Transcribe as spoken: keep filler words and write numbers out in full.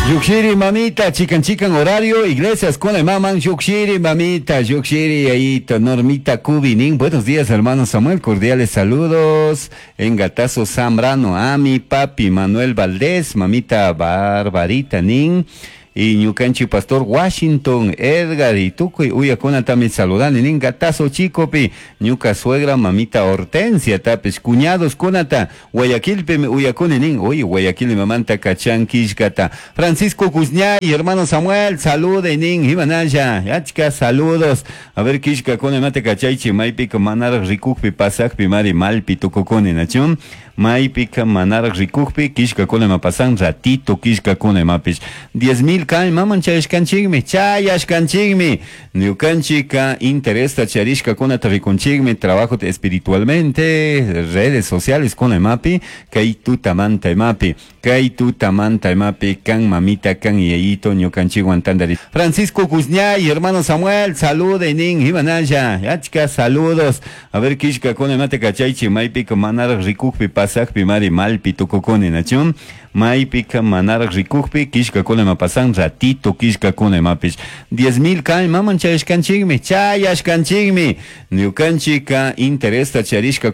Llukshiri mamita, chikan chikan horario, iglesias con el maman, llukshiri mamita, llukshiri ahí, Normita Cubinin. Buenos días, hermano Samuel, cordiales saludos. En Gatazo Zambrano, a mi papi Manuel Valdés, mamita Barbarita Nin. Y ñukanchik pastor Washington Edgar y tukuy uyakunatami saludani nin Gatazo Chicopi ñuka suegra mamita Hortensia tapish cuñados kunata Guayaquilpimi uyakuni nin uy Guayaquil mamanta kachan killkata Francisco Guzñay hermano Samuel salude nin imanalla achka saludos a ver killkakuna imata kachaychi maypika manaraj rikukpi pasakpi mari malpi tukukuni nachun maypika manaraj rikukpi killkakuna ima pasan ratito killkakuna imapish diez mil kan maman chayashkanchikmi chayashkanchikmi ñukanchika interesta charishkakunata rikunchikmi trabajo espiritualmente redes sociales kuna imapi kay tutamanta imapi kay tutamanta imapi kan mamita kan yayito ñukanchikwan tantari Francisco Guzñay hermano Samuel salude nin imanalla achka saludos a ver killkakuna imata kachaychi maypika manaraj rikukpi pasakpi mari malpi tukukuni nachun maypika manaraj rikukpi killkakuna ima pasan ratito killkakuna imapish diez mil kan maman chayashkanchikmi chayashkanchikmi ñukanchika interesta charishka